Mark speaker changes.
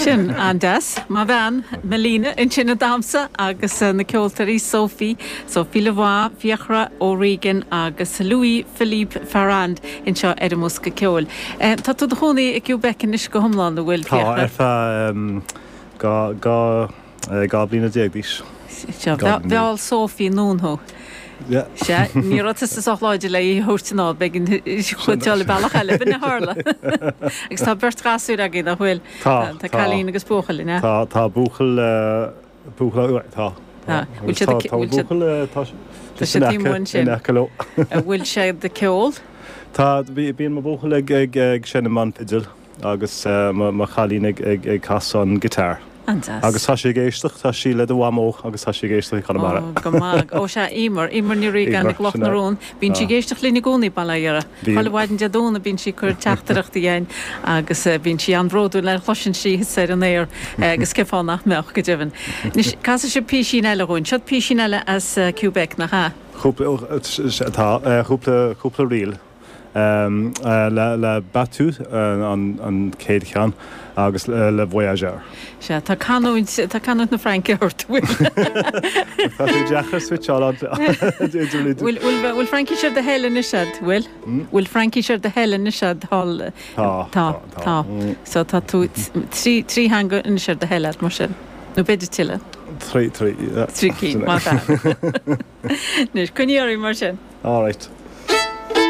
Speaker 1: Sin an-deas. Mo bhean, Melina, ansin ag damhsa agus na ceoltóirí Sophie, Sophie Lavoie, Fiachra O'Regan agus Louis Philippe Farrand anseo ar an mBosca Ceoil. Tá tú i do chónaí i Quebec anois go hiomlán, an bhfuil,
Speaker 2: Tá,
Speaker 1: Fiachra?
Speaker 2: ar feadh 12 bliana d'aois.
Speaker 1: Seo, mheall Sophie anonn thú.
Speaker 2: Yeah.
Speaker 1: Sea, ní raibh tusa sách láidir le í a thabhairt anall, b'éigean di dul bealach eile, b'in a tharla. Agus tá beirt ghasúir agaibh, nach bhfuil?
Speaker 2: Tá,
Speaker 1: tá. Tá cailín agus buachaill, an ea?
Speaker 2: Tá, tá buachaill, buachaill, tá.
Speaker 1: Tá. Bhfuil siad ag,
Speaker 2: Tá
Speaker 1: bhfuil siad,
Speaker 2: buachaill, tá
Speaker 1: tá siad taobh amuigh ansin.
Speaker 2: in aice leo.
Speaker 1: An bhfuil siad ag ceol?
Speaker 2: Tá, bíonn mo bhuachaill ag, ag, ag seinm an fidil. Agus mo chailín ag casadh an guitar.
Speaker 1: An-deas.
Speaker 2: Agus tá sí ag éisteacht, tá sí le do mhamó agus tá sí ag éisteacht i gConamara.
Speaker 1: Ó, go maith. Ó sea, Emer, Emer Ní Riagáin i gCloch na Rón. Bíonn sí ag éisteacht linn i gcónaí, bail ó Dhia uirthi.
Speaker 2: Bíonn.
Speaker 1: Chuile mhaidin Dé Domhnaigh bíonn sí ag cur teachtaireachtaí chugainn agus bíonn sí an-bhródúil nuair a chloiseann sí thusa ar an aer agus cén fáth nach mbeadh, go deimhin. Anois, casfaidh sibh písín eile dhúinn. Seo písín eile as Quebec, nach ea?
Speaker 2: Cúpla, tá, cúpla, cúpla ríl. Le Bateau an chéad cheann agus Le Voyageur.
Speaker 1: Sea, tá canúint, tá canúint na Fraince ort, bhfuil?
Speaker 2: Tá sé deacair switcháil idir.
Speaker 1: Bhfuil, bhfuil, bhfuil Fraincis ar do thoil anois a'd, bhfuil? Bhfuil Fraincis ar do thoil anois a'd thall?
Speaker 2: Tá,
Speaker 1: tá, tá. So tá tú, trí, trí theanga anois ar do thoil a'd, mar sin. Nó b'fhéidir tuilleadh.
Speaker 2: Trí, trí, yeah.
Speaker 1: Trí cinn, maith. Anois, coinnigh oraibh mar sin.
Speaker 2: All right.